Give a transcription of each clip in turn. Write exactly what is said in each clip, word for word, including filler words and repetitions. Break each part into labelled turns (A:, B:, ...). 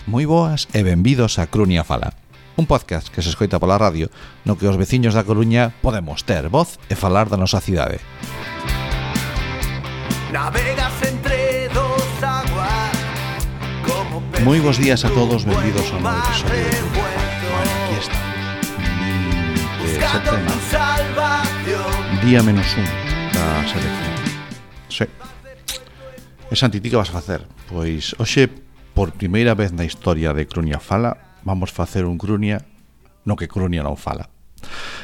A: Moi boas e benvidos a Crunia Fala, un podcast que se escoita pola radio no que os veciños da Coruña podemos ter voz e falar da nosa cidade.
B: Navegas entre dos aguas como
A: Moi bons días a todos, benvidos ao novo episodio de Crunia Fala. Bueno, aquí está. vinte e sete día menos un da selección. Sí. E Santi, ti que vas a facer? Pois hoxe, por primeira vez na historia de Crunia Fala, vamos facer un Crunia no que Crunia non fala.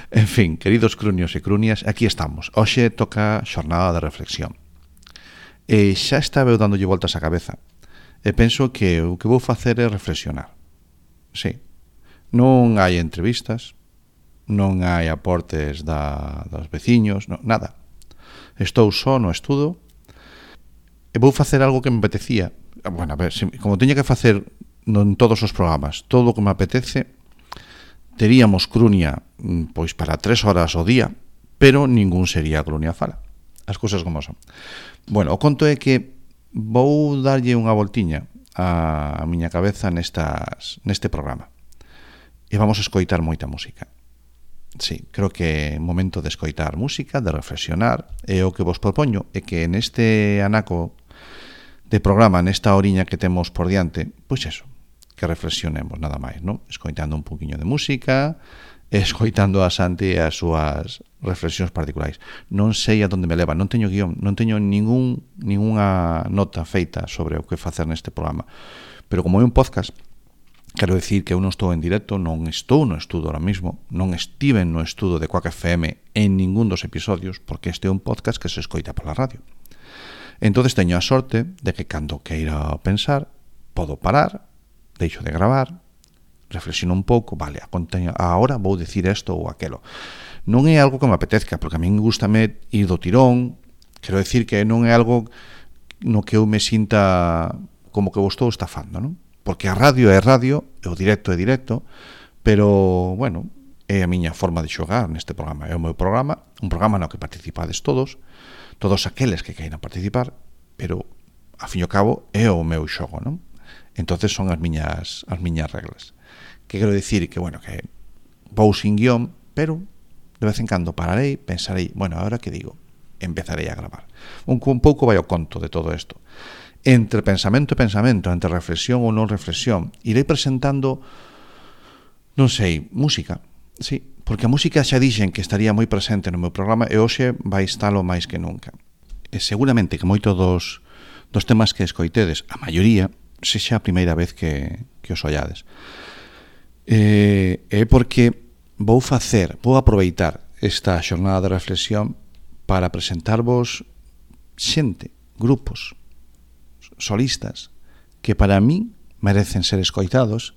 A: En fin, queridos crunios e crunias, aquí estamos. Hoxe toca xornada de reflexión. E xa estaba eu dándolle voltas á cabeza. E penso que o que vou facer é reflexionar. Sí. Non hai entrevistas, non hai aportes da, dos veciños, no, nada. Estou só no estudo e vou facer algo que me apetecía. Bueno, a ver, como teña que facer en todos os programas todo o que me apetece, teríamos Crunia pois para tres horas ao día, pero ningún sería Crunia Fala. As cousas como son. Bueno, o conto é que vou darlle unha voltiña a miña cabeza nestas, neste programa e vamos a escoitar moita música. Sí, creo que é momento de escoitar música, de reflexionar, e o que vos propoño é que neste anaco de programa, nesta horiña que temos por diante, pois eso, que reflexionemos nada máis, non? Escoitando un poquinho de música, escoitando a Santi e as súas reflexións particulares. Non sei a donde me leva, non teño guión, non teño ningún ningunha nota feita sobre o que facer neste programa. Pero como é un podcast, quero dicir que eu non estou en directo, non estou no estudo ahora mismo, non estive no estudo de Quack F M en ningún dos episodios, porque este é un podcast que se escoita pola radio. Entonces teño a sorte de que cando queira pensar, podo parar, deixo de gravar, reflexiono un pouco, vale, agora vou dicir isto ou aquelo. Non é algo que me apetezca, porque a min gustame ir do tirón, quero dicir que non é algo no que eu me sinta como que vos estou estafando, non? Porque a radio é radio, e o directo é directo, pero, bueno, é a miña forma de xogar neste programa. É o meu programa, un programa no que participades todos, todos aqueles que queiran participar, pero, a fin e ao cabo, é o meu xogo, non? Entonces son as miñas as miñas reglas. Que quero dicir que, bueno, que vou sin guión, pero de vez en cando pararei, pensarei, bueno, ahora que digo, empezarei a gravar. Un, un pouco vai ao conto de todo isto. Entre pensamento e pensamento, entre reflexión ou non reflexión, irei presentando, non sei, música, sí, porque a música xa dixen que estaría moi presente no meu programa e hoxe vai estalo máis que nunca. E seguramente que moito dos, dos temas que escoitedes, a maioría, sexa a primeira vez que, que os ollades. E, é porque vou facer, vou aproveitar esta xornada de reflexión para presentarvos xente, grupos, solistas, que para mí merecen ser escoitados,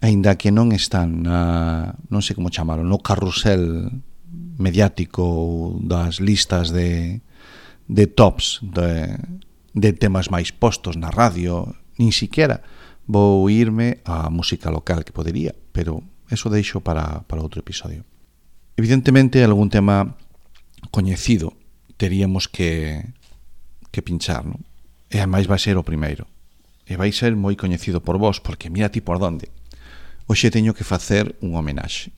A: aínda que non están na, non sei como chamalo, no carrusel mediático das listas de, de tops de, de temas máis postos na radio, nin siquiera vou irme á música local que podería, pero eso deixo para, para outro episodio. Evidentemente, algún tema coñecido teríamos que, que pinchar, non? E ademais vai ser o primeiro. E vai ser moi coñecido por vos, porque mira ti por donde. Hoxe teño que facer un homenaxe.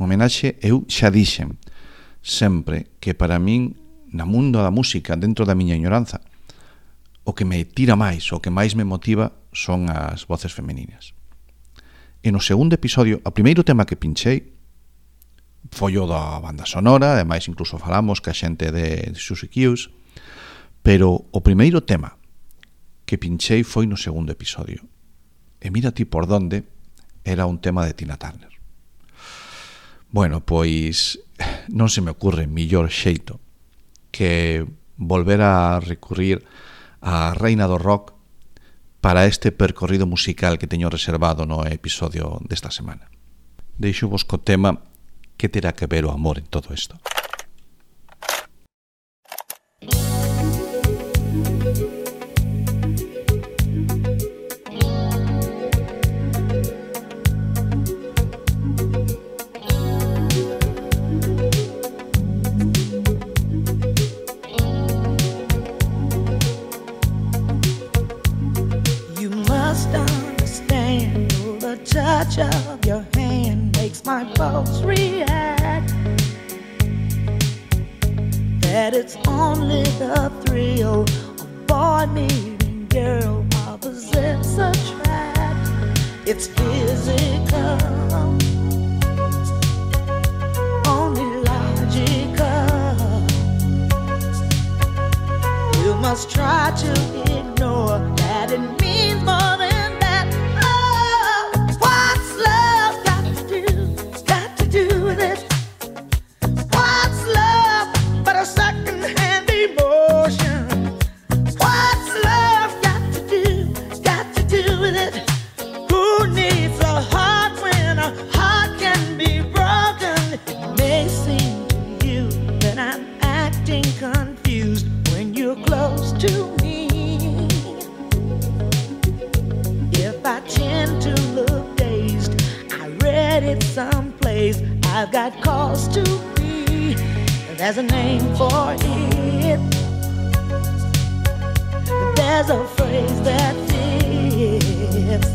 A: Un homenaxe, eu xa dixen sempre que para min, na mundo da música, dentro da miña ignoranza, o que me tira máis, o que máis me motiva son as voces femininas. E no segundo episodio, o primeiro tema que pinchei foi o da banda sonora, ademais incluso falamos que a xente de Suzy Q's, pero o primeiro tema que pinchei foi no segundo episodio. E mira ti por donde era un tema de Tina Turner. Bueno, pois non se me ocurre millor xeito que volver a recurrir a reina do rock para este percorrido musical que teño reservado no episodio desta semana. Deixo vos co tema que terá que ver o amor en todo isto.
C: You must understand of your hand makes my pulse react. That it's only the thrill of boy meeting girl, opposites attract. It's physical, only logical. You must try to ignore that it means more than that. Oh, what's love got to do, got to do with it? What's love but a second-hand emotion? What's love got to do, got to do with it? Who needs a heart when a heart can be broken? It may seem to you that I'm acting confused when you're close to me. If I tend to look dazed, I read it someplace, I've got cause to be. There's a name for it. There's a phrase that fits.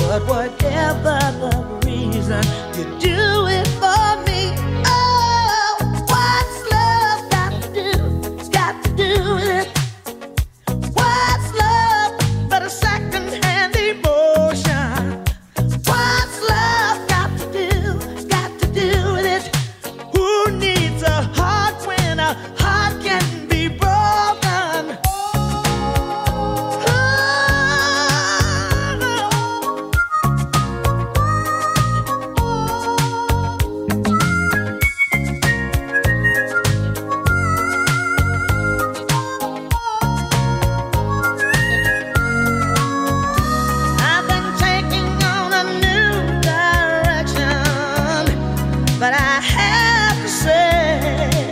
C: But whatever the reason, you do it for me. Oh, what's love got to do, got to do with it? What's love but a second-hand emotion? What's love got to do, got to do with it? Who needs a heart when a heart can be broken? I've been taking on a new direction, but I have to say,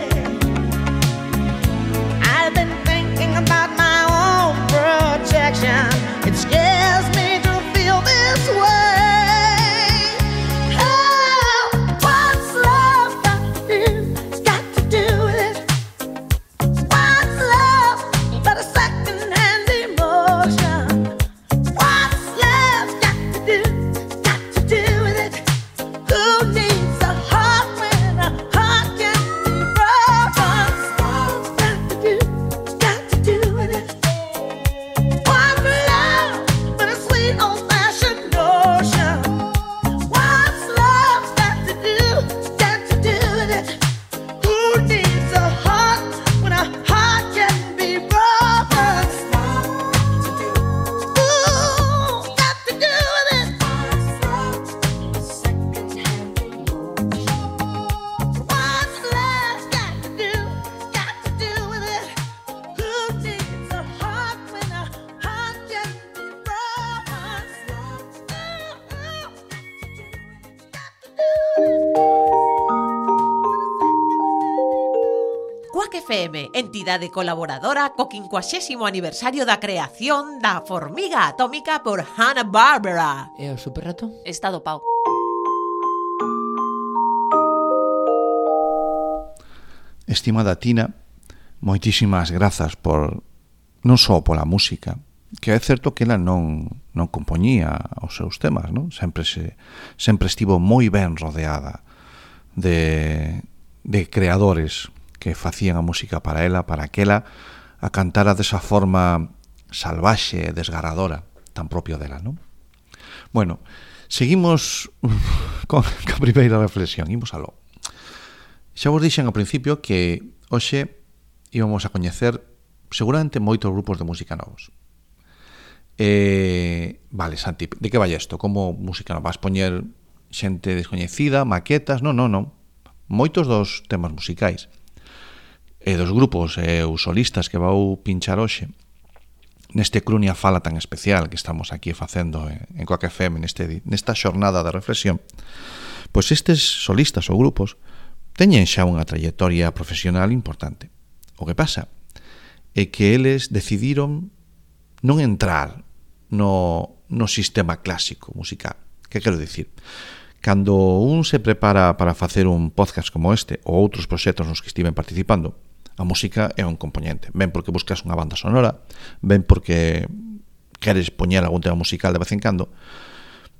C: I've been thinking about my own protection. It scares me to feel this way. Oh, what's love got to do, got to do with it? What's love but a second-hand emotion? What's love got to do, got to do with it? Who needs a heart when a heart can be broken? What's got to do, got to do with it? What's love but a sweet old-fashioned notion? What's love got to do, got to do with it? Who needs a heart when a heart can be broken? Ooh, got to do with it. What's love got to do, got to do with it? Who needs a heart when a heart can be broken? Ooh, got to do with it.
D: Quack F M, entidade colaboradora co quincuagésimo aniversario da creación da formiga atómica por Hanna-Barbera.
E: E o superrato?
F: Está dopado.
A: Estimada Tina, moitísimas grazas por non só pola música, que é certo que ela non non compoñía os seus temas, non? Sempre se sempre estivo moi ben rodeada de de creadores que facían a música para ela, para que ela a cantara desa forma salvaxe e desgarradora, tan propio dela, non? Bueno, seguimos con a primeira reflexión, imos aló. Xa vos dixen ao principio que hoxe íbamos a coñecer seguramente moitos grupos de música novos. Eh, vale, Santi, de que vai isto? Como música nova? Vas poñer xente descoñecida, maquetas? Non, non, non. Moitos dos temas musicais e dos grupos e os solistas que vou pinchar hoxe neste Crunia Fala tan especial que estamos aquí facendo en Quack F M neste, nesta xornada de reflexión, pois estes solistas ou grupos teñen xa unha trayectoria profesional importante. O que pasa é que eles decidiron non entrar no, no sistema clásico musical. Que quero dicir? Cando un se prepara para facer un podcast como este ou outros proxectos nos que estiven participando, a música é un componente. Ben porque buscas unha banda sonora, ben porque queres poñer algún tema musical de vez en cando,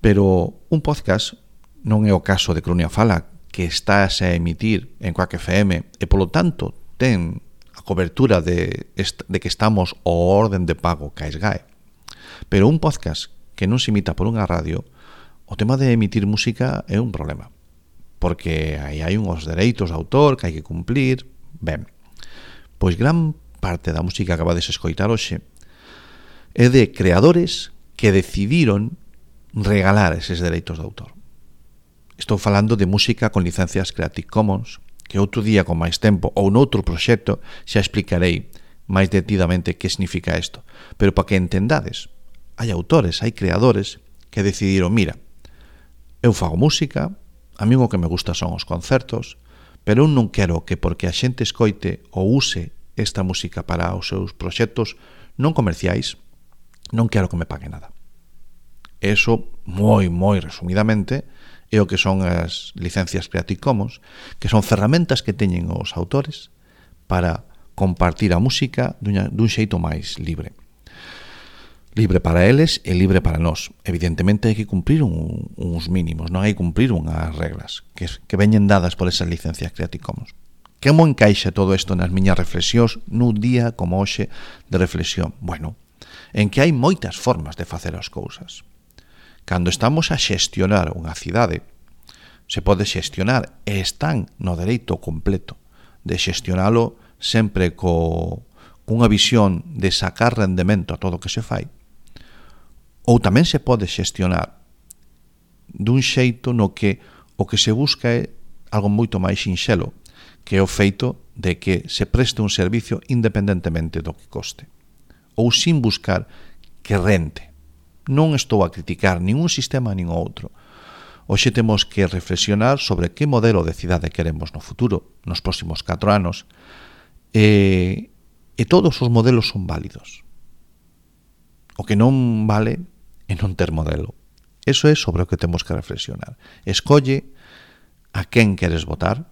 A: Pero un podcast non é o caso de Crunia Fala, que estás a emitir en Quack F M e, polo tanto, ten a cobertura de, de que estamos ao orden de pago ca SGAE. Pero un podcast que non se imita por unha radio, o tema de emitir música é un problema, porque aí hai uns dereitos de autor que hai que cumplir. Ben, pois gran parte da música que acabades de escoitar hoxe é de creadores que decidiron regalar eses dereitos de autor. Estou falando de música con licencias Creative Commons, que outro día con máis tempo ou noutro proxecto xa explicarei máis detidamente que significa isto. Pero para que entendades, hai autores, hai creadores que decidiron, mira, eu fago música, a mí o que me gusta son os concertos, pero eu non quero que porque a xente escoite ou use esta música para os seus proxectos non comerciais, non quero que me pague nada. Eso, moi, moi resumidamente, é o que son as licencias Creative Commons, que son ferramentas que teñen os autores para compartir a música dun, dun xeito máis libre. Libre para eles e libre para nós. Evidentemente hai que cumprir un, uns mínimos, non hai que cumprir unhas reglas que, que veñen dadas por esas licencias Creative Commons. Como encaixa todo isto nas miñas reflexións nun día como hoxe de reflexión? Bueno, en que hai moitas formas de facer as cousas. Cando estamos a xestionar unha cidade, se pode xestionar e están no dereito completo de xestionalo sempre co, cunha visión de sacar rendemento a todo o que se fai. Ou tamén se pode xestionar dun xeito no que o que se busca é algo moito máis sinxelo, que é o feito de que se preste un servicio independentemente do que coste, ou sin buscar que rente. Non estou a criticar nin un sistema nin outro. Hoxe temos que reflexionar sobre que modelo de cidade queremos no futuro, nos próximos catro anos, e, e todos os modelos son válidos. O que non vale é non ter modelo. Eso é sobre o que temos que reflexionar. Escolle a quen queres votar,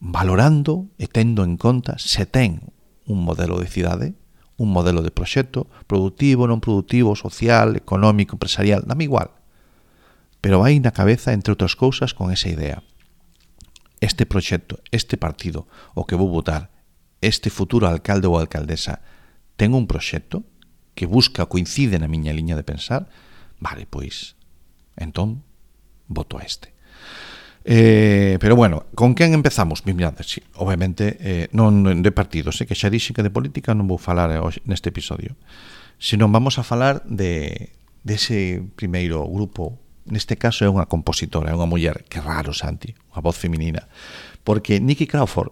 A: valorando e tendo en conta se ten un modelo de cidade, un modelo de proxecto, productivo, non productivo, social, económico, empresarial, dame igual. Pero vai na cabeza, entre outras cousas, con esa idea. Este proxecto, este partido, o que vou votar, este futuro alcalde ou alcaldesa, ten un proxecto que busca, coincide na miña liña de pensar, vale, pois, entón, voto a este. Eh, pero bueno, con quen empezamos? Mirad, sí, obviamente eh, non de partidos, eh, que xa dixe que de política non vou falar hoxe, neste episodio, senón vamos a falar de dese primeiro grupo. Neste caso é unha compositora, é unha muller, que raro, Santi, unha voz feminina, porque Nikki Crawford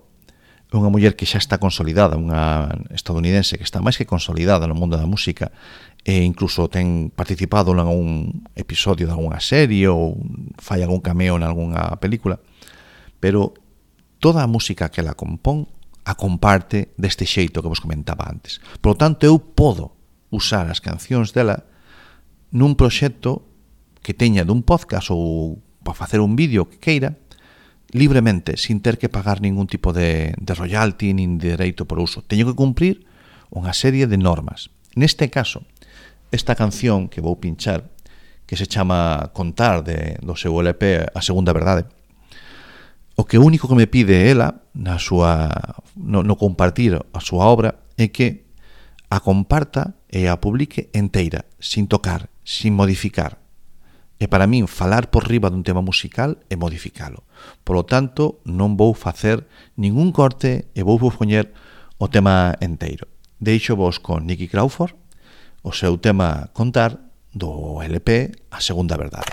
A: é unha muller que xa está consolidada, unha estadounidense que está máis que consolidada no mundo da música, e incluso ten participado en algún episodio de alguna serie ou fai algún cameo en algunha película, pero toda a música que ela compón a comparte deste xeito que vos comentaba antes. Por lo tanto, eu podo usar as cancións dela nun proxecto que teña dun podcast ou para facer un vídeo que queira, libremente, sin ter que pagar ningún tipo de, de royalty nin de dereito por uso. Teño que cumprir unha serie de normas. Neste caso, esta canción que vou pinchar, que se chama Contar, de, do seu L P A Segunda Verdade, o que único que me pide ela na súa, no, no compartir a súa obra é que a comparta e a publique enteira, sin tocar, sin modificar. E para min, falar por riba dun tema musical é modificalo. Por lo tanto, non vou facer ningún corte e vou vos poñer o tema enteiro. Deixo vos con Nikki Crawford, o seu tema Contar, do L P A Segunda Verdade.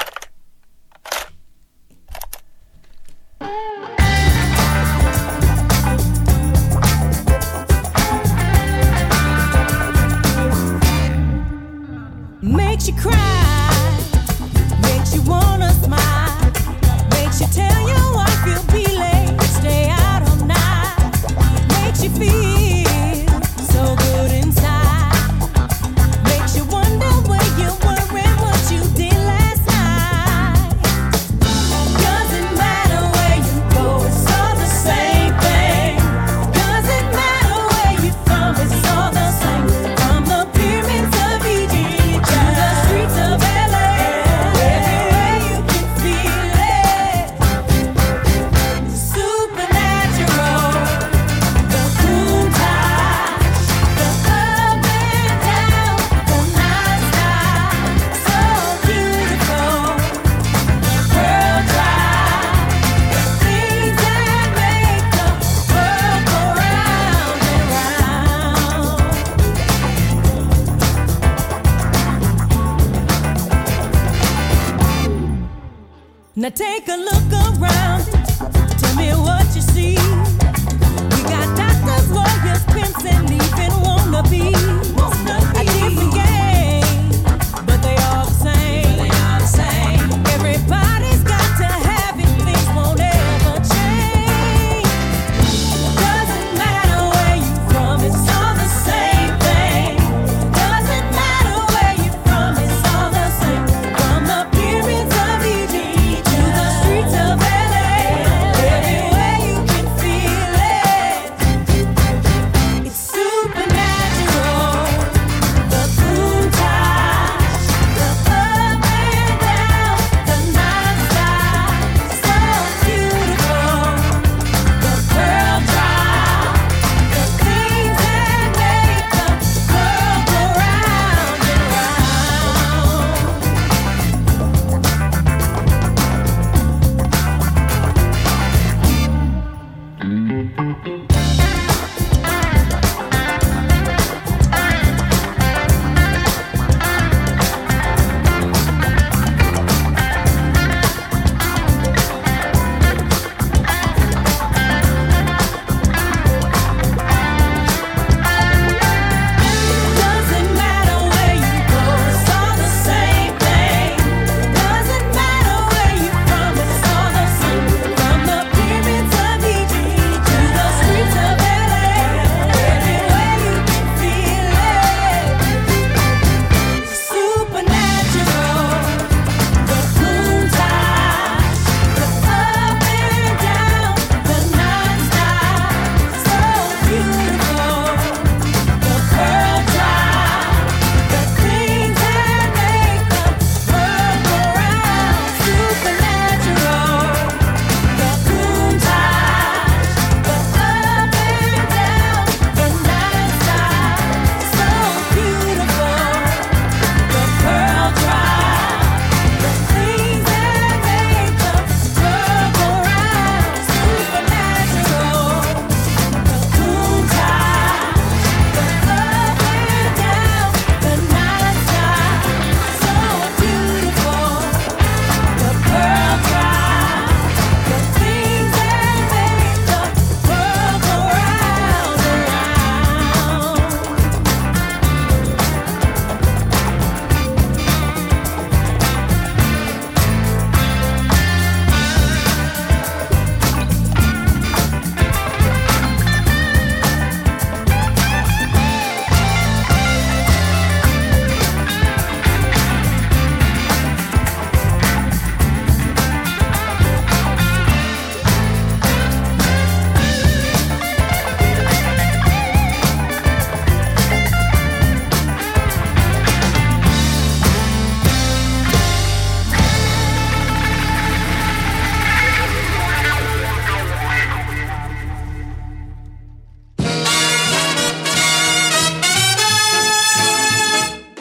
E: Makes you cry, makes you wanna smile, makes you tell your wife you'll be late, stay out all night, makes you feel so good inside, makes you wonder where you were and what you did last night. Now take a look around. Tell me what you see. We got doctors, lawyers, pimps, and even wannabes. A different game, but they all the same. They all the same. Everybody's got to have it. Things won't ever change. Doesn't matter where you're from. It's all the same thing. Doesn't matter where you're from. It's all the same. From the pyramids of Egypt to the streets of L A, everywhere you can feel it. It's supernatural. The Countach, the up and down, the non-stop, so beautiful. The pearl drop, the things that make the world go round and round. Doesn't matter where you go, it's all the same thing. Doesn't matter where you're from, it's all the same. From the pyramids of Egypt to the streets of L A, everywhere you can feel it. Supernatural. The Countach, the up and down, the non-stop, so beautiful. The pearl drop, the things that make the world go round. Supernatural. The Countach, the up and down, the non-stop, so beautiful. The pearl drop, the things that make the world go round. Supernatural. The Countach, the up and down, the non-stop, so beautiful. The pearl drop, the things that make the world go round and round.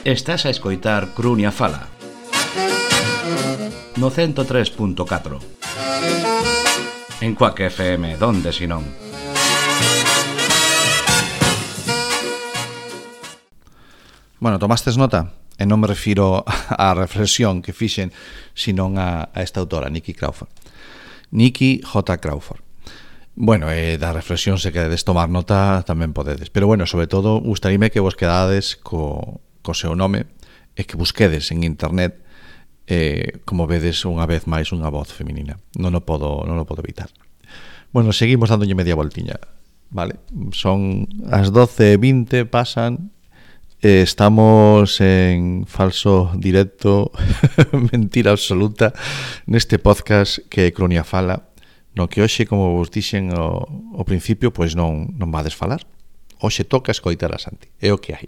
F: Estás a escoitar Crunia Fala no ciento tres punto catro en Quack F M, donde si non.
A: Bueno, tomastes nota? E non me refiro á reflexión que fixen, senón a, a esta autora, Nikki Crawford. Nikki J. Crawford. Bueno, eh, da reflexión, se queredes tomar nota, tamén podedes. Pero bueno, sobre todo, gustaríame que vos quedades co, co seu nome e que busquedes en internet, eh, como vedes unha vez máis unha voz feminina. Non o podo, non o podo evitar. Bueno, seguimos dándolle media voltiña, vale? Son as doce e vinte, pasan. Eh, estamos en falso directo, mentira absoluta, neste podcast que é Crunia Fala, no que hoxe, como vos dixen ao, ao principio, pois non, non vades falar. Hoxe toca escoitar a Santi, é o que hai.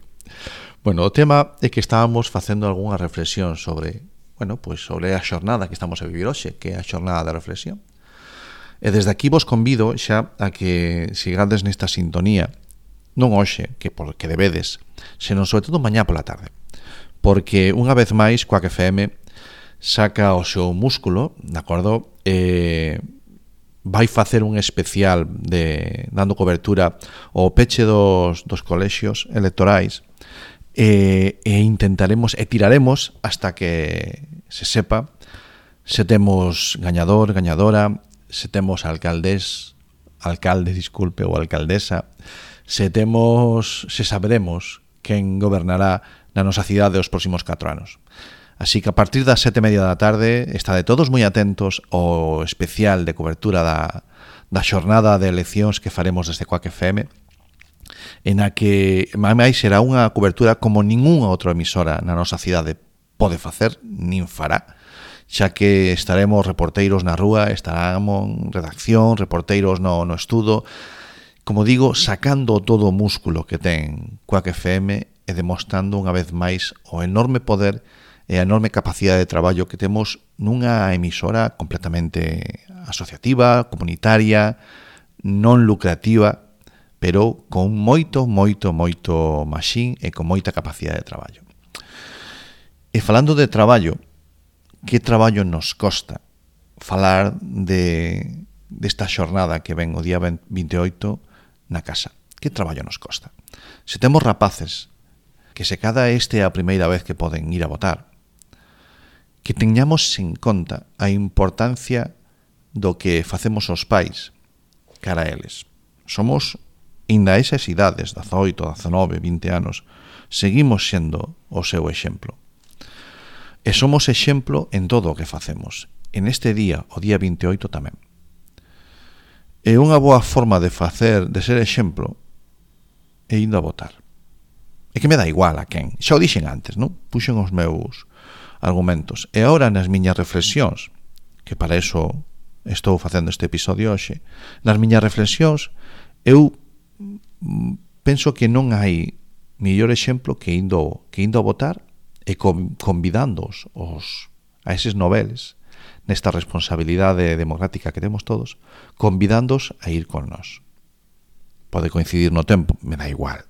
A: Bueno, o tema é que estábamos facendo algunha reflexión sobre, bueno, pois sobre a xornada que estamos a vivir hoxe, que é a xornada de reflexión. E desde aquí vos convido xa a que sigades nesta sintonía, non hoxe, que porque debedes, senón sobre todo mañá pola tarde. Porque unha vez máis Quack F M saca o seu músculo, de acordo? Eh, vai facer un especial de dando cobertura ao peche dos, dos colexios electorais e, e intentaremos e tiraremos hasta que se sepa se temos gañador, gañadora, se temos alcaldes, alcalde, disculpe, ou alcaldesa, se temos, se saberemos quen gobernará na nosa cidade os próximos catro anos. Así que a partir das sete e media da tarde estade todos moi atentos ao especial de cobertura da, da xornada de eleccións que faremos desde Quack F M, en a que máis será unha cobertura como ningunha outra emisora na nosa cidade pode facer, nin fará, xa que estaremos reporteiros na rúa, estaremos en redacción, reporteiros no, no estudo, como digo, sacando todo o músculo que ten Quack F M e demostrando unha vez máis o enorme poder e a enorme capacidade de traballo que temos nunha emisora completamente asociativa, comunitaria, non lucrativa, pero con moito, moito, moito maxín e con moita capacidade de traballo. E falando de traballo, que traballo nos costa falar de desta xornada que ven o día vinte e oito na casa? Que traballo nos costa? Se temos rapaces que se cada este é a primeira vez que poden ir a votar, que teñamos en conta a importancia do que facemos os pais cara a eles. Somos inda esas idades, dezaoito, dezanove, vinte anos, seguimos sendo o seu exemplo. E somos exemplo en todo o que facemos. En este día, o día vinte e oito tamén. E unha boa forma de facer, de ser exemplo, é indo a votar. É que me dá igual a quen. Xa o dixen antes, non? Puxen os meus argumentos. E agora nas miñas reflexións, que para eso estou facendo este episodio hoxe, nas miñas reflexións, eu penso que non hai mellor exemplo que indo, que indo a votar e convidándoos os, a eses noveles nesta responsabilidade democrática que temos todos, convidándoos a ir con nós. Pode coincidir no tempo, me dá igual.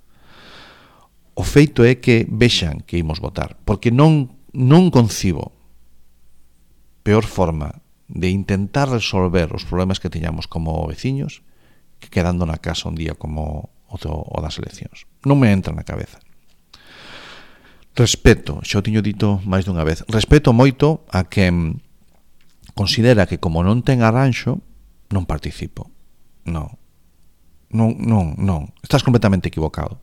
A: O feito é que vexan que imos votar, porque non, non concibo peor forma de intentar resolver os problemas que teñamos como veciños que quedando na casa un día como o, do, o das eleccións. Non me entra na cabeza. Respeto, xa o tiño dito máis dunha vez, respeto moito a quen considera que como non ten arranxo, non participo. Non. Non, non, non. Estás completamente equivocado.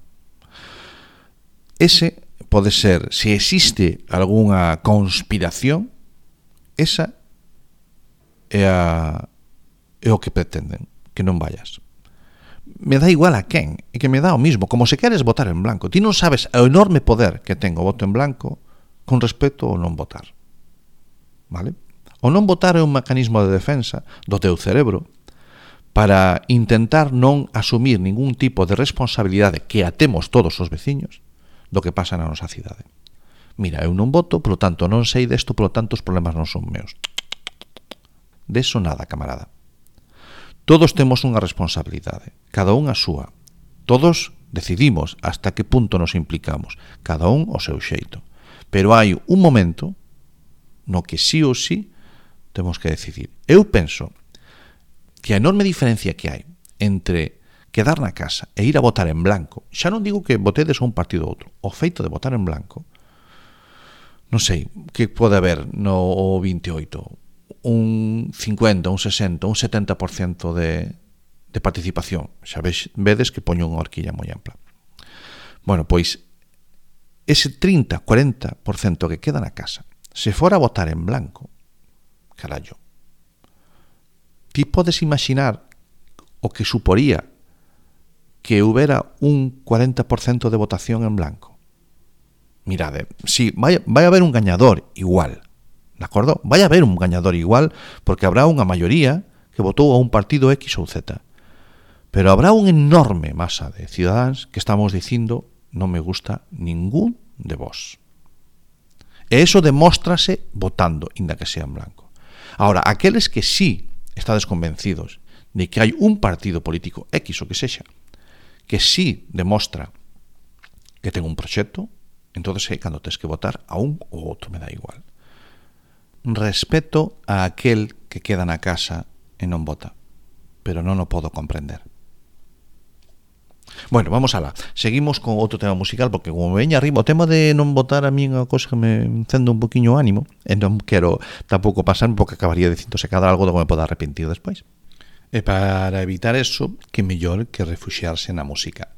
A: Ese pode ser, se existe algunha conspiración, esa é, a, é o que pretenden, que non vayas. Me dá igual a quen, e que me dá o mismo, como se queres votar en blanco. Ti non sabes o enorme poder que ten o voto en blanco con respecto ao non votar. Vale? O non votar é un mecanismo de defensa do teu cerebro para intentar non asumir ningún tipo de responsabilidade que a temos todos os veciños do que pasa na nosa cidade. Mira, eu non voto, polo tanto non sei desto, polo tanto os problemas non son meus. Deso nada, camarada. Todos temos unha responsabilidade, cada un a súa. Todos decidimos hasta que punto nos implicamos, cada un o seu xeito. Pero hai un momento no que sí ou sí temos que decidir. Eu penso que a enorme diferencia que hai entre quedar na casa e ir a votar en blanco, xa non digo que votedes a un partido ou outro, o feito de votar en blanco, non sei, que pode haber no vinte e oito, un cincuenta, un sesenta, un setenta por cento de, de participación. Xa vedes, vedes que poño unha horquilla moi ampla. Bueno, pois ese trinta, cuarenta por cento que queda na casa, se fora a votar en blanco, carallo, ti podes imaginar o que suporía que houbera un cuarenta por cento de votación en blanco. Mirade, si, vai, vai haber un gañador igual, de acordo? Vai haber un gañador igual porque habrá unha maioría que votou a un partido X ou Z. Pero habrá unha enorme masa de cidadáns que estamos dicindo non me gusta ningún de vos. E eso demóstrase votando, inda que sea en blanco. Ahora, aqueles que sí estades convencidos de que hai un partido político X o que sexa, que sí demostra que ten un proxecto, entonces é cando tens que votar a un ou outro, me dá igual. Respeto a aquel que queda na casa e non vota, pero non o podo comprender. Bueno, vamos alá. Seguimos con outro tema musical, porque como me veña arriba o tema de non votar a mí unha cosa que me encende un poquinho o ánimo, e non quero tampouco pasarme porque acabaría dicindo se cada algo do que me poda arrepentir despois. E para evitar eso, que mellor que refuxiarse na música.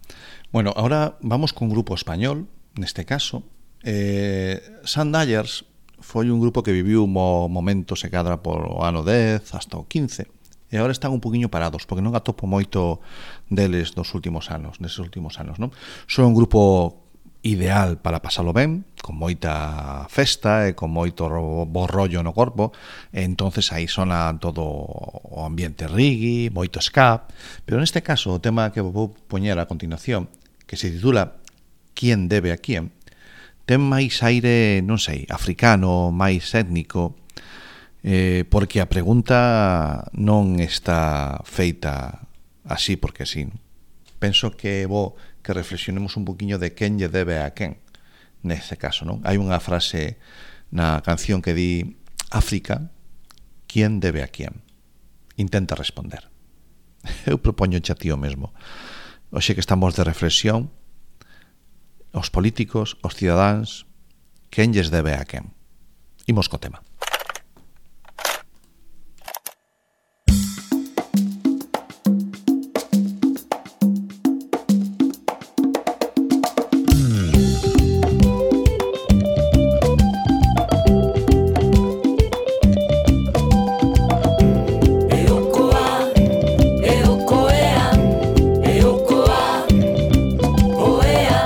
A: Bueno, ahora vamos con un grupo español, neste caso. Eh, Sandyers foi un grupo que viviu un momento se cadra por o ano dez hasta o quince, e agora están un poquinho parados porque non atopo moito deles dos últimos anos, neses últimos anos, non? Son un grupo ideal para pasalo ben, con moita festa e con moito bo rollo no corpo, e entonces aí sona todo o ambiente reggae, moito ska, pero neste caso o tema que vou poñer a continuación, que se titula Quién debe a quién, ten máis aire, non sei, africano, máis étnico, Eh, porque a pregunta non está feita así porque así. Penso que é bo que reflexionemos un poquinho de quen lle debe a quen neste caso, non? Hai unha frase na canción que di África, ¿quién debe a quién? Intenta responder. Eu propoño xa tío mesmo. Oxe que estamos de reflexión, os políticos, os cidadáns, quen lles debe a quen? Imos co tema.
E: Oea,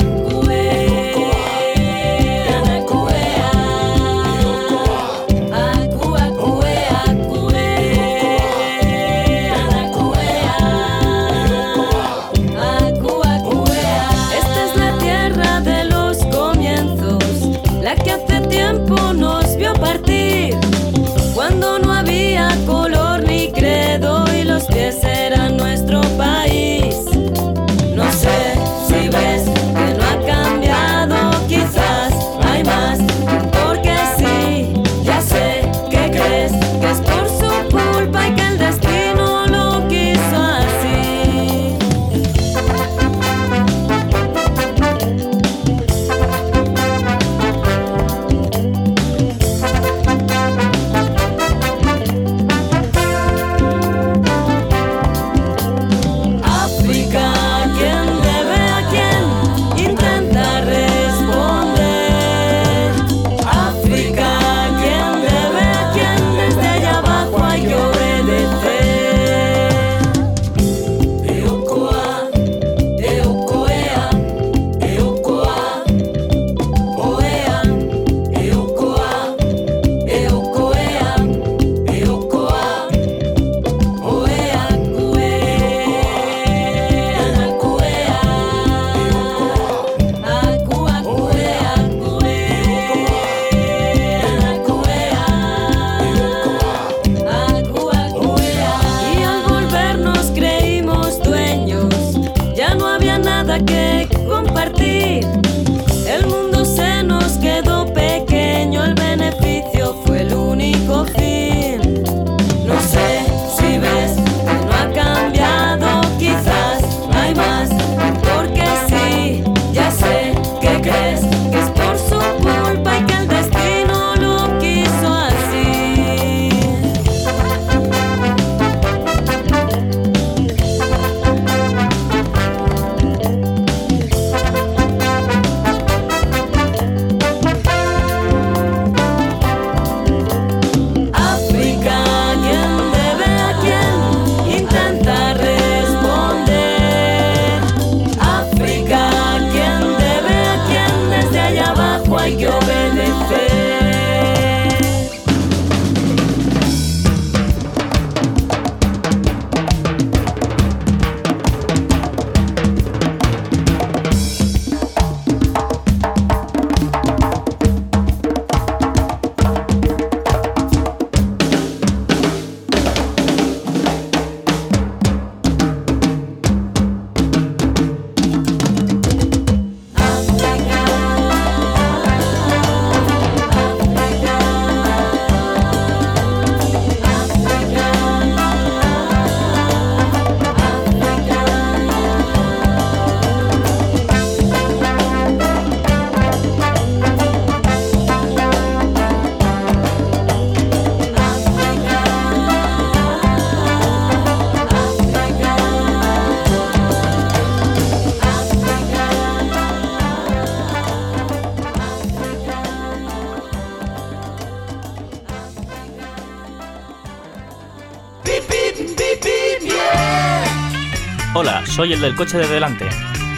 G: Hola, soy el del coche de delante.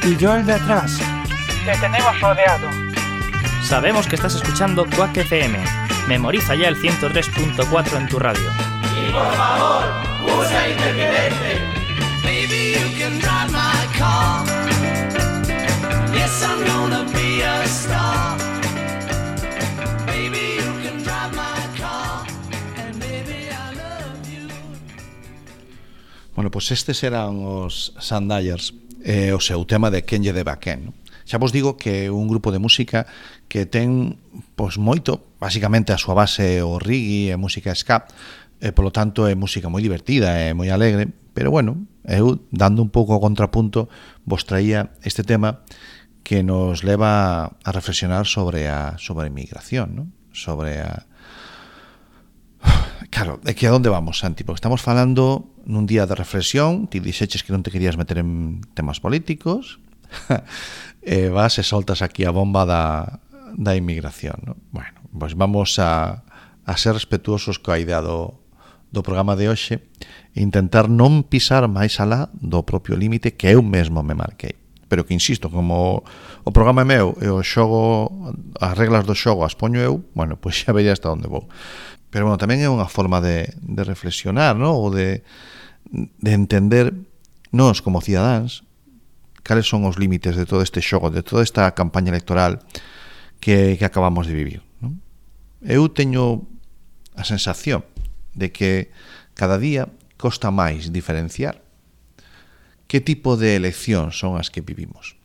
H: Y yo el de atrás. Te tenemos rodeado.
G: Sabemos que estás escuchando Quack F M. Memoriza ya el ciento tres punto cuatro en tu radio.
B: Y por favor, usa intermitente. Baby, you can drive my car. Yes, I'm gonna be a star. Baby, you can drive my car. And baby, I love you.
A: Bueno, pois pues estes eran os Sandyers, eh, o seu tema de Quen lle deba a quen, non? Xa vos digo que é un grupo de música que ten, pois, moito, basicamente a súa base o reggae e música ska, e polo tanto é música moi divertida e moi alegre, pero bueno, eu, dando un pouco o contrapunto, vos traía este tema que nos leva a reflexionar sobre a sobre a inmigración, non? Sobre a... Claro, é que a onde vamos, Santi? Porque estamos falando nun día de reflexión, ti dixeches que non te querías meter en temas políticos, e vas e soltas aquí a bomba da, da inmigración, ¿no? Bueno, pois vamos a, a ser respetuosos coa idea do, do programa de hoxe e intentar non pisar máis alá do propio límite que eu mesmo me marquei. Pero que, insisto, como o programa é meu e o xogo, as reglas do xogo as poño eu, bueno, pois xa verei hasta onde vou. Pero, bueno, tamén é unha forma de, de reflexionar, ¿no? Ou de, de entender nós como cidadáns cales son os límites de todo este xogo, de toda esta campaña electoral que, que acabamos de vivir, non? Eu teño a sensación de que cada día costa máis diferenciar que tipo de eleccións son as que vivimos.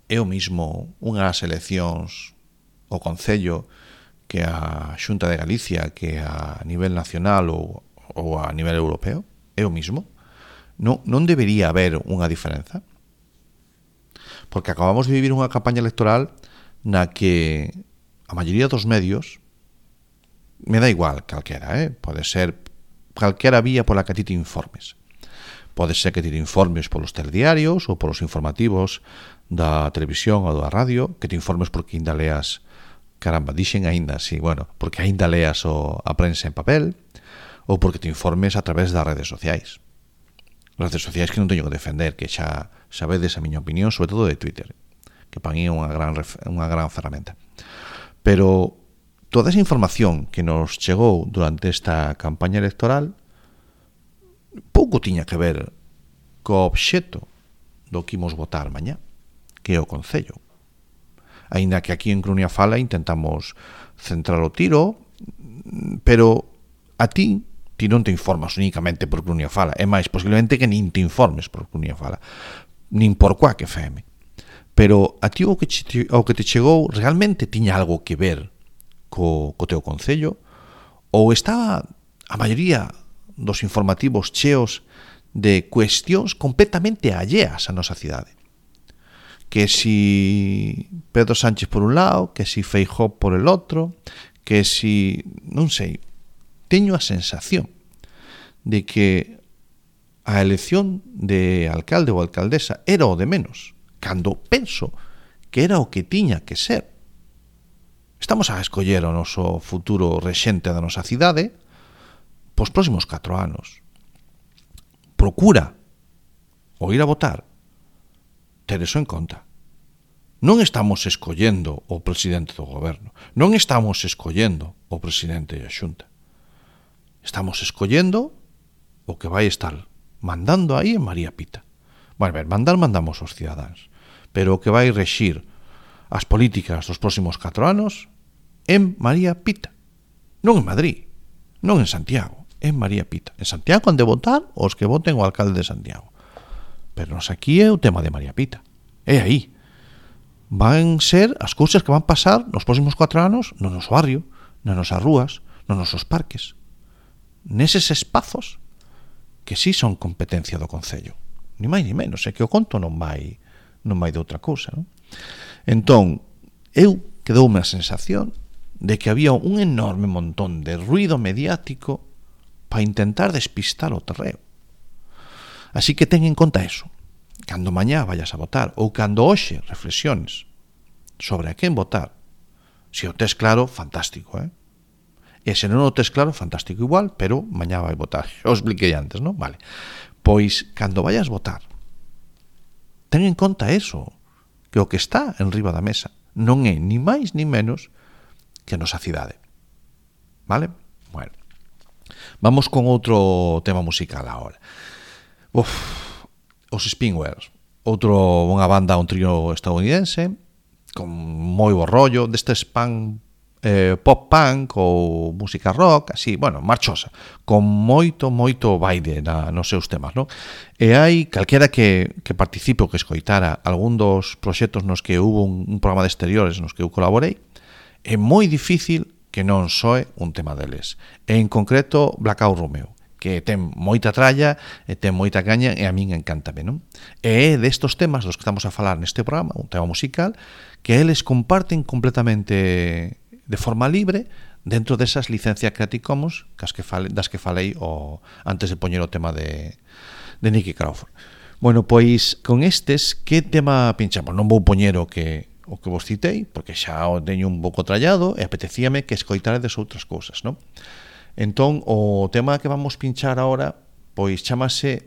A: Eu mismo, unhas eleccións o Concello que a Xunta de Galicia, que a nivel nacional ou, ou a nivel europeo, eu mismo, non, non debería haber unha diferenza. Porque acabamos de vivir unha campaña electoral na que a maioría dos medios, me da igual calquera, eh? Pode ser calquera vía pola que ti te informes. Pode ser que te informes polos telediarios ou polos informativos da televisión ou da radio, que te informes porque ainda leas, caramba, dixen ainda, sí, bueno, porque ainda leas o, a prensa en papel, ou porque te informes a través das redes sociais. Redes sociais que non teño que defender, que xa sabedes a miña opinión, sobre todo de Twitter, que para mí é unha gran, unha gran ferramenta. Pero toda esa información que nos chegou durante esta campaña electoral pouco tiña que ver co obxecto do que imos votar mañá, que é o Concello. Aínda que aquí en Crunia Fala intentamos centrar o tiro, pero a ti ti non te informas únicamente por Crunia Fala, é máis, posiblemente que nin te informes por Crunia Fala, nin por Quack F M. Pero a ti o que, che, o que te chegou realmente tiña algo que ver co, co teu concello, ou estaba a maioría dos informativos cheos de cuestións completamente alleas á nosa cidade. Que si Pedro Sánchez por un lado, que si Feijóo por el outro, que si, non sei, teño a sensación de que a elección de alcalde ou alcaldesa era o de menos, cando penso que era o que tiña que ser. Estamos a escoller o noso futuro rexente da nosa cidade pos próximos catro anos. Procura o ir a votar ter eso en conta. Non estamos escollendo o presidente do goberno, non estamos escollendo o presidente da Xunta. Estamos escollendo o que vai estar mandando aí en María Pita. Bueno, ver, mandar mandamos os cidadáns, pero o que vai rexir as políticas dos próximos catro anos en María Pita. Non en Madrid, non en Santiago, en María Pita. En Santiago han de votar os que voten o alcalde de Santiago. Pero nos aquí é o tema de María Pita. É aí. Van ser as cousas que van pasar nos próximos catro anos no noso barrio, nas nosas rúas, nos nosos parques. Neses espazos que sí son competencia do Concello. Ni máis ni menos, é que o conto non vai non vai de outra cousa, non? Entón, eu quedoume a sensación de que había un enorme montón de ruido mediático para intentar despistar o terreo. Así que ten en conta eso. Cando mañá vayas a votar ou cando hoxe reflexiones sobre a quen votar, se o tes claro, fantástico, eh? E se non o tes claro, fantástico igual, pero mañá vai votar. Yo expliquei antes, non? Vale. Pois, cando vayas votar, ten en conta eso, que o que está en riba da mesa non é ni máis ni menos que a nosa cidade. Vale? Bueno, vamos con outro tema musical agora. Uf, os Spinwheels, outro, unha banda, un trío estadounidense con moi bo rollo, destes pan eh, pop punk ou música rock, así, bueno, marchosa, con moito, moito baile na, nos seus temas, non? E hai calquera que, que participe ou que escoitara algún dos proxectos nos que hubo un, un programa de exteriores nos que eu colaborei, é moi difícil que non soe un tema deles. E en concreto Blackout Romeo, que ten moita tralla e ten moita caña e a min encántame, non? E é destos temas dos que estamos a falar neste programa, un tema musical, que eles comparten completamente de forma libre dentro desas licencias Creative Commons das que falei, das que falei o, antes de poñer o tema de, de Nicky Crawford. Bueno, pois con estes, que tema pinchamos? Non vou poñer o que o que vos citei, porque xa o teño un pouco trallado e apetecíame que escoitaredes outras cousas, non? Entón, o tema que vamos pinchar ahora, pois chamase,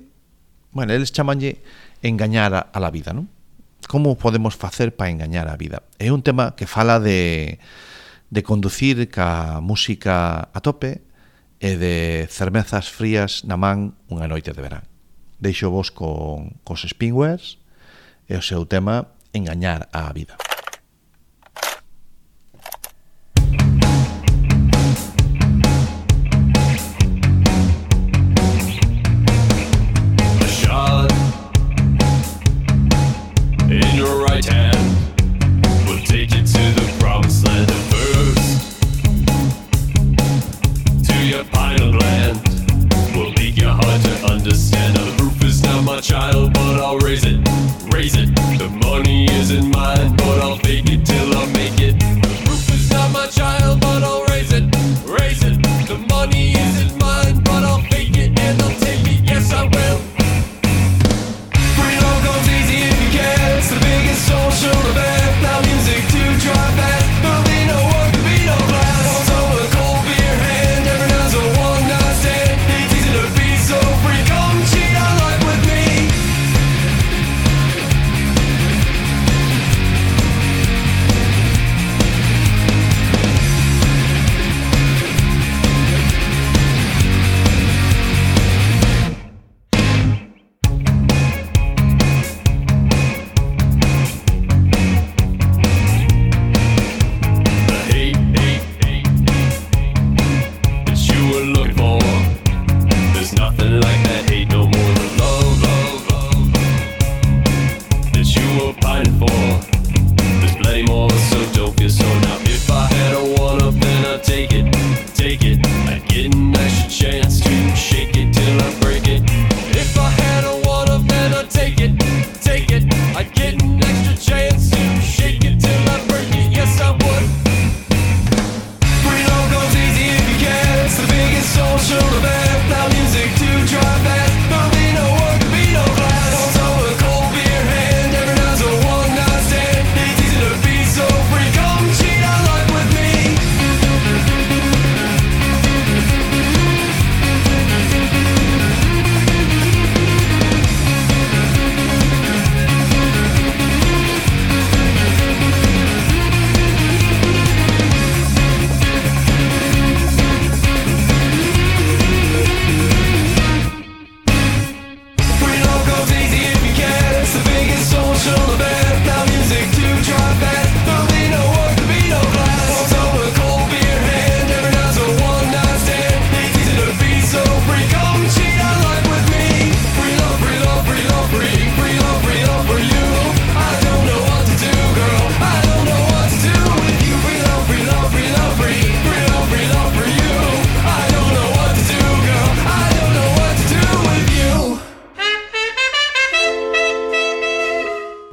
A: bueno, eles chamanlle engañar a, a la vida, non? Como podemos facer para engañar a vida? É un tema que fala de, de conducir ca música a tope e de cervezas frías na man unha noite de verán. Deixo vos con cos Spinwheels e o seu tema engañar a vida.
I: In your right hand, we'll take you to the promised land at first. To your pineal gland, we'll make your heart to understand. Now the proof is not my child, but I'll raise it, raise it. The money isn't mine, but I'll fake it till I make it. The proof is not my child, but I'll raise it, raise it. The money isn't mine, but I'll fake it and I'll take it, yes I will. It's the biggest social event. Now music to drive fast. There'll be no work, there'll be no class. Also a cold beer hand. Every night's a one night stand. It's easy to be so free. Come cheat on life with me.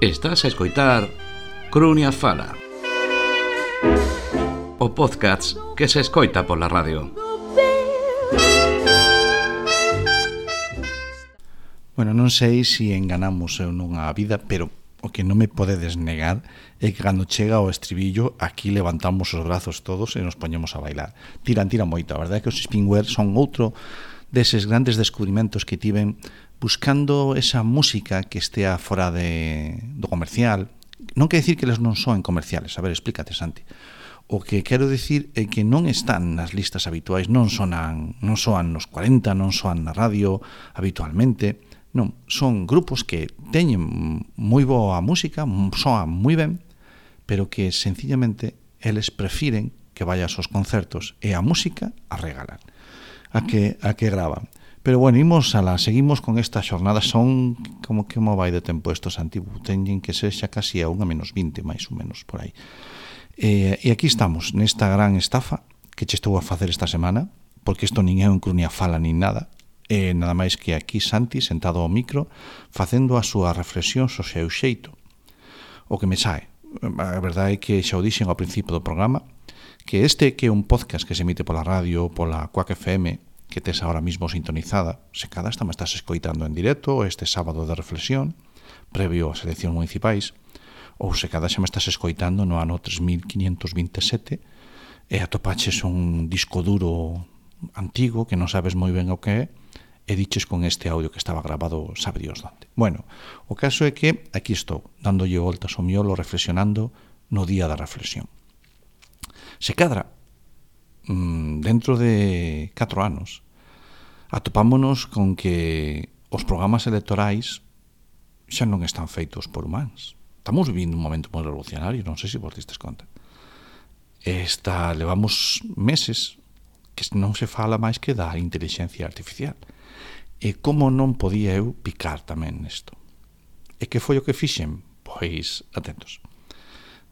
F: Estás a escoitar Crunia Fala, o podcast que se escoita pola radio.
A: Bueno, non sei se enganamos ou non a vida, pero o que non me podedes negar é que cando chega o estribillo aquí levantamos os brazos todos e nos poñemos a bailar. Tiran, tiran moito, a verdade é que os Spinwheels son outro deses grandes descubrimentos que tiven buscando esa música que estea fora de, do comercial. Non quer dicir que eles non son comerciales, a ver, explícate, Santi. O que quero dicir é que non están nas listas habituais, non sonan, non soan nos cuarenta, non soan na radio habitualmente, non, son grupos que teñen moi boa música, soan moi ben, pero que sencillamente eles prefiren que vayas aos concertos e a música a regalar, a que, a que graban. Pero bueno, imos a la, seguimos con esta xornada, son como que mo vai de tempo estos antiguos, teñen que ser xa casi a unha menos vinte, máis ou menos, por aí. E, e aquí estamos, nesta gran estafa que che estou a facer esta semana, porque isto nin é un Crunia Fala nin nada, e nada máis que aquí Santi, sentado ao micro, facendo a súa reflexión so seu xeito. O que me sae, a verdade é que xa o dixen ao principio do programa, que este que é un podcast que se emite pola radio, pola Quack F M, que tes ahora mismo sintonizada, se cada esta me estás escoitando en directo este sábado de reflexión, previo ás eleccións municipais, ou se cada xa me estás escoitando no ano tres mil quinientos vinte e sete e atopaches un disco duro antigo que non sabes moi ben o que é e diches con este audio que estaba grabado sabe Dios donde. Bueno, o caso é que aquí estou, dándolle voltas ao miolo, reflexionando no día da reflexión. Se cadra, dentro de catro anos, atopámonos con que os programas electorais xa non están feitos por humanos. Estamos vivindo un momento moi revolucionario, non sei se vos distes conta. Esta, levamos meses que non se fala máis que da inteligencia artificial. E como non podía eu picar tamén nesto? E que foi o que fixen? Pois, atentos.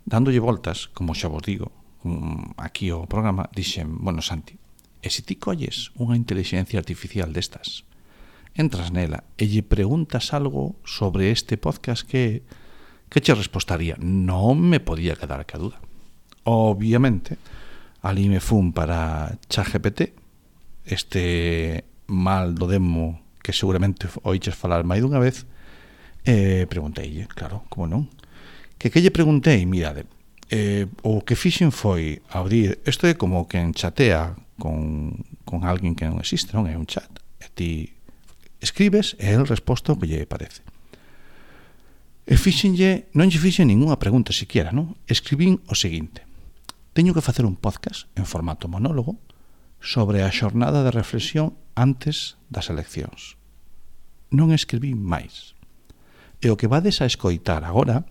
A: Dándolle voltas, como xa vos digo, aquí o programa, dixen, bueno, Santi, e se ti colles unha inteligencia artificial destas, entras nela e lle preguntas algo sobre este podcast, que que che respostaría? Non me podía quedar que a duda. Obviamente, ali me fun para ChatGPT, este mal do demo que seguramente oiches falar máis dunha vez, e pregunteille, claro, como non? Que que lle preguntei? Mirade, eh, o que fixen foi abrir, isto é como quen chatea con, con alguén que non existe, non é un chat, e ti escribes e el resposta o que lle parece. E fixenlle, non lle fixen ningunha pregunta siquiera, non? Escribín o seguinte: teño que facer un podcast en formato monólogo sobre a xornada de reflexión antes das eleccións. Non escribín máis. E o que vades a escoitar agora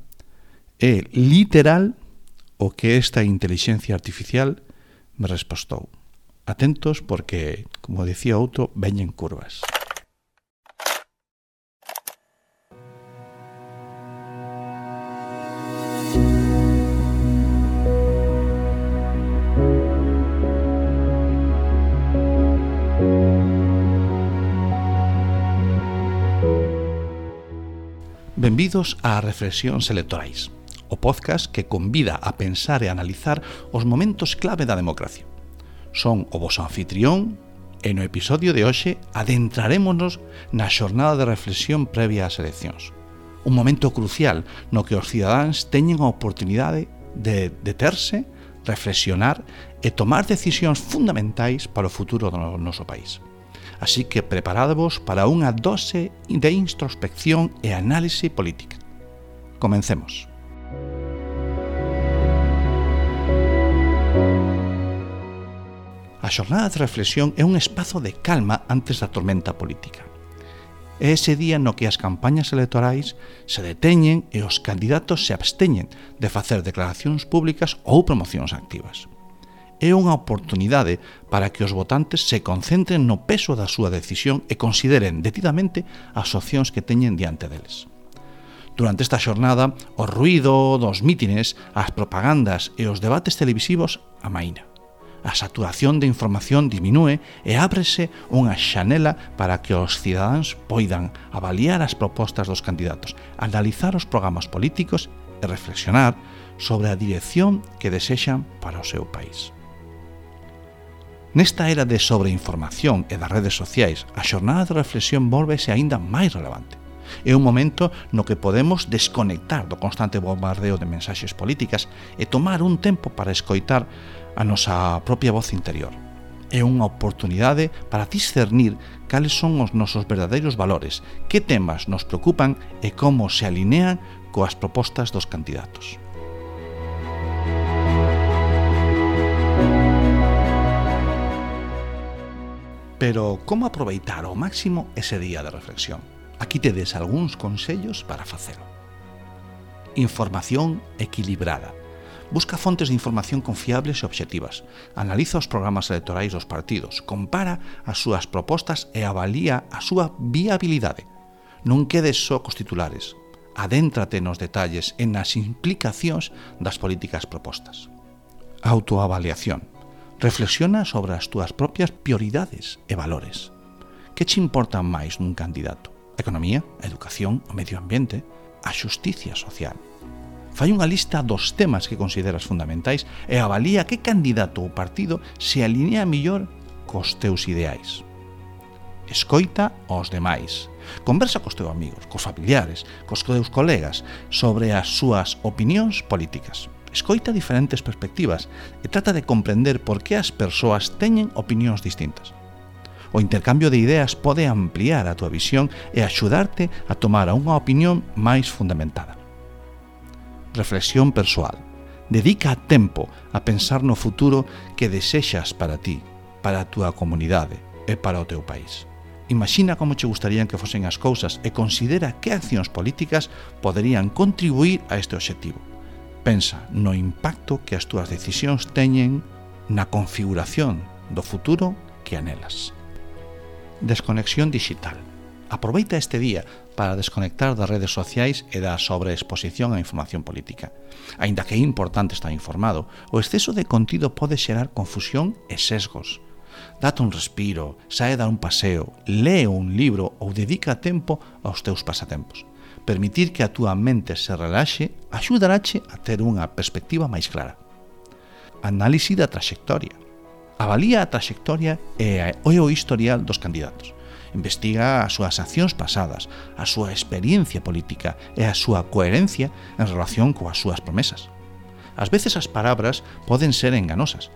A: é literal o que esta inteligencia artificial me respostou. Atentos porque, como decía outro, veñen curvas. Benvidos a Reflexións Electorais, o podcast que convida a pensar e analizar os momentos clave da democracia. Son o voso anfitrión e no episodio de hoxe adentrarémonos na xornada de reflexión previa ás eleccións. Un momento crucial no que os cidadáns teñen a oportunidade de deterse, reflexionar e tomar decisións fundamentais para o futuro do noso país. Así que preparadvos para unha dose de introspección e análise política. Comencemos. A xornada de reflexión é un espazo de calma antes da tormenta política. É ese día no que as campañas electorais se deteñen e os candidatos se absteñen de facer declaracións públicas ou promocións activas. É unha oportunidade para que os votantes se concentren no peso da súa decisión e consideren detidamente as opcións que teñen diante deles. Durante esta xornada, o ruído dos mítines, as propagandas e os debates televisivos amaina. A saturación de información diminúe e ábrese unha xanela para que os cidadáns poidan avaliar as propostas dos candidatos, analizar os programas políticos e reflexionar sobre a dirección que desexan para o seu país. Nesta era de sobreinformación e das redes sociais, a xornada de reflexión vólvese aínda máis relevante. É un momento no que podemos desconectar do constante bombardeo de mensaxes políticas e tomar un tempo para escoitar a nosa propia voz interior. é unha oportunidade para discernir cales son os nosos verdadeiros valores, que temas nos preocupan e como se alinean coas propostas dos candidatos. Pero como aproveitar ao máximo ese día de reflexión? Aquí tedes algúns consellos para facelo. Información equilibrada. Busca fontes de información confiables e obxectivas. Analiza os programas electorais dos partidos, compara as súas propostas e avalía a súa viabilidade. Non quedes só cos titulares. Adéntrate nos detalles e nas implicacións das políticas propostas. Autoavaliación. Reflexiona sobre as túas propias prioridades e valores. Que che importan máis nun candidato? A economía, a educación, o medio ambiente, a xusticia social. Fai unha lista dos temas que consideras fundamentais e avalía que candidato ou partido se alinea mellor cos teus ideais. Escoita aos demais. Conversa cos teus amigos, cos familiares, cos teus colegas sobre as súas opinións políticas. Escoita diferentes perspectivas e trata de comprender por que as persoas teñen opinións distintas. O intercambio de ideas pode ampliar a túa visión e axudarte a tomar unha opinión máis fundamentada. Reflexión persoal. Dedica tempo a pensar no futuro que desexas para ti, para a túa comunidade e para o teu país. Imagina como che gustarían que fosen as cousas e considera que accións políticas poderían contribuir a este obxectivo. Pensa no impacto que as túas decisións teñen na configuración do futuro que anelas. Desconexión digital. Aproveita este día para desconectar das redes sociais e da sobreexposición á información política. Aínda que é importante estar informado, o exceso de contido pode xerar confusión e sesgos. Date un respiro, sae dar un paseo, lee un libro ou dedica tempo aos teus pasatempos. Permitir que a túa mente se relaxe axudarache a ter unha perspectiva máis clara. Análise da traxectoria. Avalía a traxectoria e o historial dos candidatos. Investiga as súas accións pasadas, a súa experiencia política e a súa coherencia en relación coas súas promesas. Ás veces as palabras poden ser enganosas,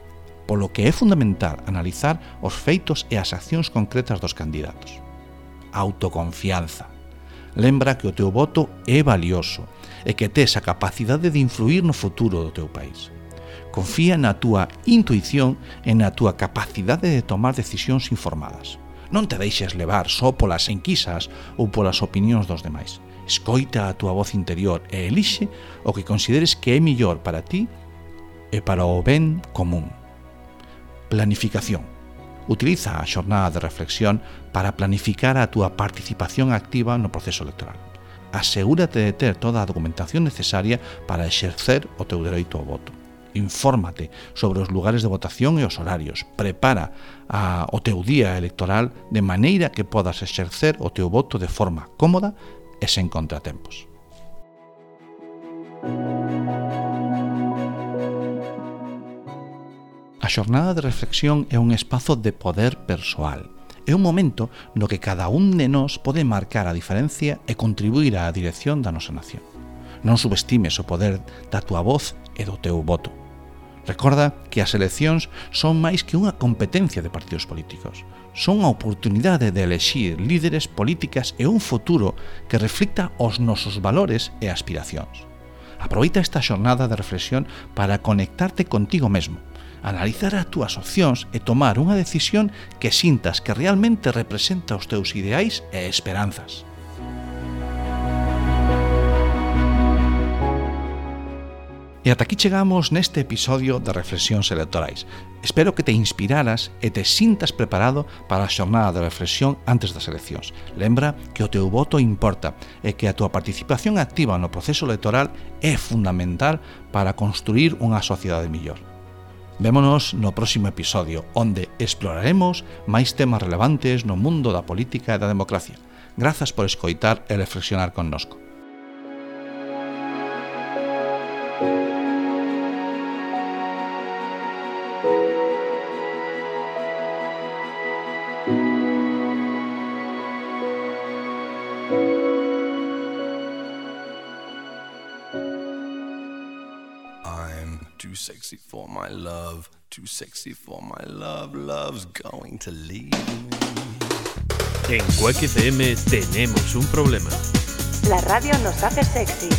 A: polo que é fundamental analizar os feitos e as accións concretas dos candidatos. Autoconfianza. Lembra que o teu voto é valioso e que tes a capacidade de influir no futuro do teu país. Confía na túa intuición e na túa capacidade de tomar decisións informadas. Non te deixes levar só polas enquisas ou polas opinións dos demais. Escoita a túa voz interior e elixe o que consideres que é mellor para ti e para o ben común. Planificación. Utiliza a xornada de reflexión para planificar a túa participación activa no proceso electoral. Asegúrate de ter toda a documentación necesaria para exercer o teu dereito ao voto. Infórmate sobre os lugares de votación e os horarios. Prepara a, o teu día electoral de maneira que podas exercer o teu voto de forma cómoda e sen contratempos. A xornada de reflexión é un espazo de poder persoal. É un momento no que cada un de nós pode marcar a diferencia e contribuir á dirección da nosa nación. Non subestimes o poder da túa voz e do teu voto. Recorda que as eleccións son máis que unha competencia de partidos políticos. Son a oportunidade de elexir líderes políticas e un futuro que reflicta os nosos valores e aspiracións. Aproveita esta xornada de reflexión para conectarte contigo mesmo, analizar as túas opcións e tomar unha decisión que sintas que realmente representa os teus ideais e esperanzas. E ata aquí chegamos neste episodio de Reflexións Electorais. Espero que te inspiraras e te sintas preparado para a xornada de reflexión antes das eleccións. Lembra que o teu voto importa e que a túa participación activa no proceso electoral é fundamental para construir unha sociedade mellor. Vémonos no próximo episodio, onde exploraremos máis temas relevantes no mundo da política e da democracia. Grazas por escoitar e reflexionar connosco.
I: too sexy for my love, too sexy for my love, love's going to leave me.
J: En Quack F M tenemos un problema.
K: La radio nos hace sexys.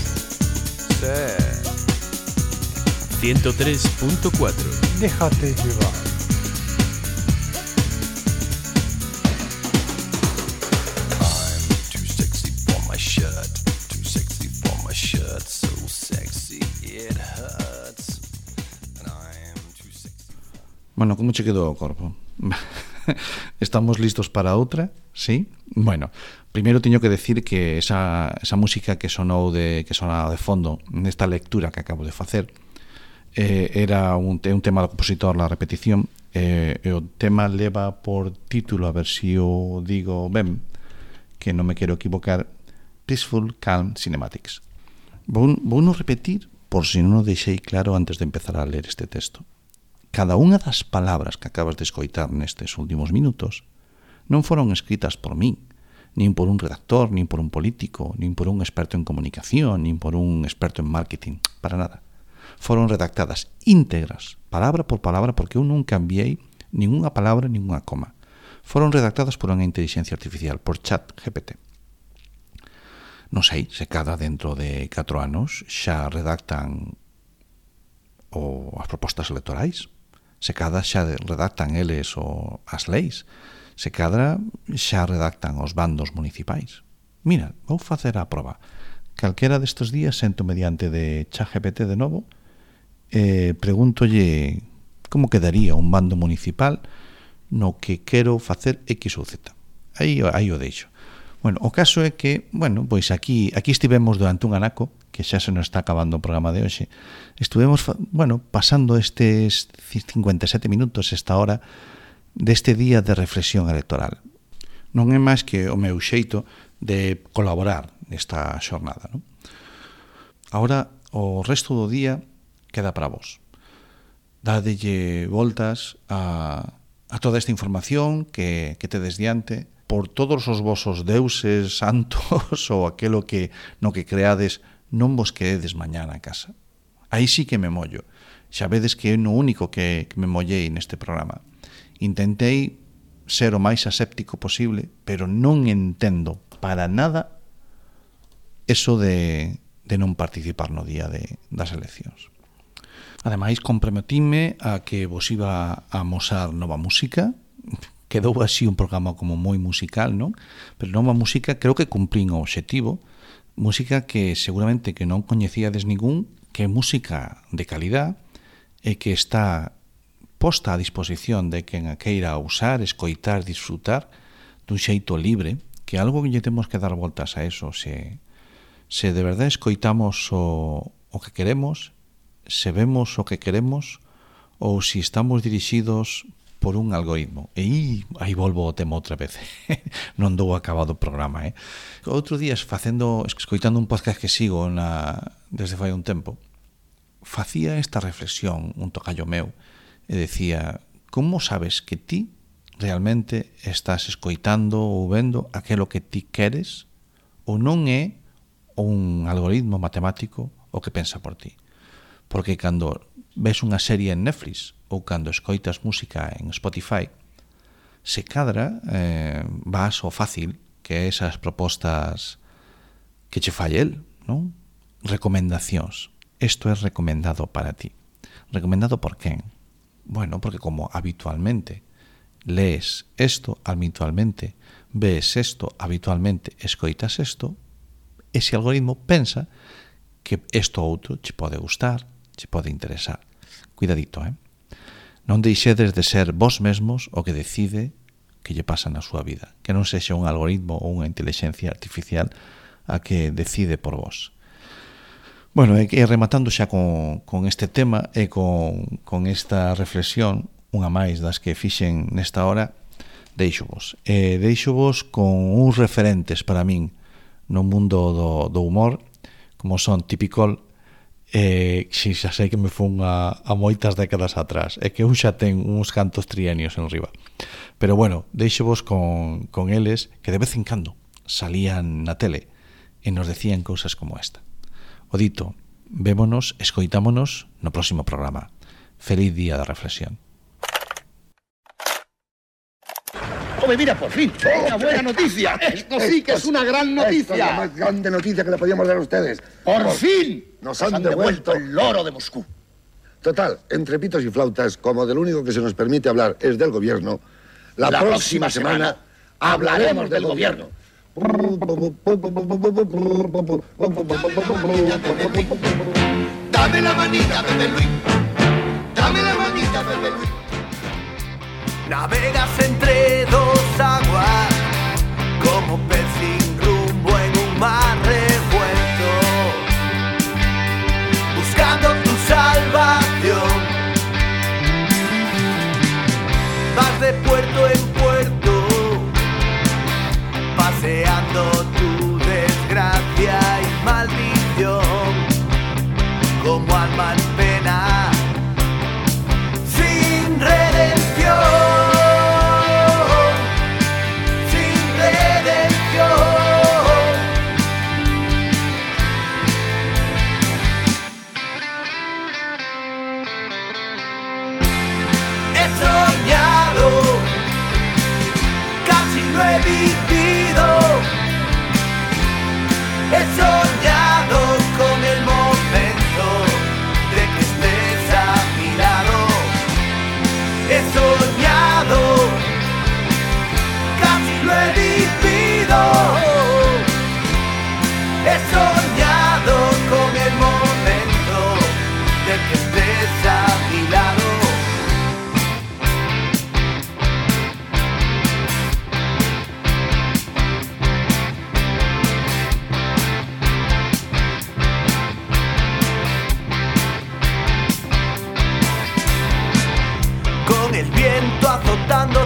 I: Sí.
J: ciento tres punto cuatro.
H: Déjate llevar.
I: I'm too sexy for my shirt, too sexy for my shirt, so sexy it hurts. And I'm too sexy.
A: Bueno, como che quedou o corpo? Estamos listos para outra? Sí? Bueno, primeiro teño que decir que esa, esa música que sonou de, que sonaba de fondo nesta lectura que acabo de facer eh, era un, un tema do compositor La Repetición, eh, e o tema leva por título, a ver si o digo ben, que non me quero equivocar, Peaceful Calm Cinematics. Vou, vou non repetir por si non o deixei claro antes de empezar a ler este texto. Cada unha das palabras que acabas de escoitar nestes últimos minutos non foron escritas por min, nin por un redactor, nin por un político, nin por un experto en comunicación, nin por un experto en marketing, para nada. Foron redactadas íntegras, palabra por palabra, porque eu non cambiei ninguna palabra, ninguna coma. Foron redactadas por unha inteligencia artificial, por chat G P T. Non sei se cada dentro de catro anos xa redactan o as propostas electorais, se cada xa redactan eles o as leis, se cada xa redactan os bandos municipais. Mira, vou facer a proba. Calquera destes días sento mediante de ChatGPT de novo e pregúntolle como quedaría un bando municipal no que quero facer X ou Z. Aí, aí o deixo. Bueno, o caso é que, bueno, pois aquí aquí estivemos durante un anaco, que xa se nos está acabando o programa de hoxe. Estuvemos, bueno, pasando estes cincuenta e sete minutos, esta hora, deste día de reflexión electoral. Non é máis que o meu xeito de colaborar nesta xornada, non? Agora, o resto do día queda para vos. Dádelle voltas a, a toda esta información que, que tedes diante, por todos os vosos deuses santos ou aquelo que no que creades, non vos quededes mañá na casa. Aí sí que me mollo. Xa vedes que é no único que, que me mollei neste programa. Intentei ser o máis aséptico posible, pero non entendo para nada eso de, de non participar no día de, das eleccións. Ademais, comprometíme a que vos iba a amosar nova música. Quedou así un programa como moi musical, non? Pero nova música, creo que cumplín o obxectivo. Música que seguramente que non coñecíades ningún, que é música de calidad e que está posta a disposición de quen a queira usar, escoitar, disfrutar dun xeito libre, que algo que lle temos que dar voltas a eso, se, se de verdade escoitamos o, o que queremos, se vemos o que queremos, ou se estamos dirixidos por un algoritmo. E aí volvo o tema outra vez. Non dou acabado o programa, eh? Outro día, facendo, escoitando un podcast que sigo na, desde fai un tempo, facía esta reflexión, un tocayo meu, e decía, como sabes que ti realmente estás escoitando ou vendo aquilo que ti queres, ou non é un algoritmo matemático o que pensa por ti? Porque cando ves unha serie en Netflix ou cando escoitas música en Spotify, se cadra eh, vas ao fácil, que é esas propostas que che fai el, non? Recomendacións. Isto é recomendado para ti. Recomendado por quen? Bueno, porque como habitualmente lees esto, habitualmente ves esto, habitualmente escoitas esto, ese algoritmo pensa que isto outro che pode gustar, che pode interesar. Cuidadito, eh? Non deixedes de ser vos mesmos o que decide que lle pasa na súa vida. Que non sexa un algoritmo ou unha inteligencia artificial a que decide por vos. Bueno, e rematando xa con, con este tema e con, con esta reflexión, unha máis das que fixen nesta hora, deixo-vos. E deixo-vos con uns referentes para min no mundo do, do humor, como son Tipicol, e si xa sei que me fun a, a moitas décadas atrás, e que un xa ten uns cantos trienios en riba. Pero bueno, deixo-vos con, con eles que de vez en cando salían na tele e nos decían cousas como esta. O dito, Vémonos, escoitámonos no próximo programa. Feliz día de reflexión.
L: ¡Home, mira, por fin! ¡Una buena noticia! ¡Esto sí que es una gran noticia!
M: Esta es la más grande noticia que le podíamos dar a ustedes.
L: ¡Por fin!
M: Nos han devuelto
L: el loro de Moscú.
M: Total, entre pitos y flautas, como del único que se nos permite hablar es del gobierno, la,
L: La
M: próxima,
L: próxima
M: semana,
L: semana
M: hablaremos del gobierno.
L: Dame la manita, Pepe Luis. Dame la manita, Pepe Luis.
B: Navegas entre dos aguas como pez sin rumbo en un mar revuelto, buscando tu salvación. Vas de puerto en puerto, paseando tu desgracia y maldición como alma en pena, sin redención, sin redención. He soñado, casi lo he vivido. He soñado con el momento de que estés a mi lado. He soñado, casi lo he vivido. He soñado con el momento de que estés a mi lado. Con el viento azotando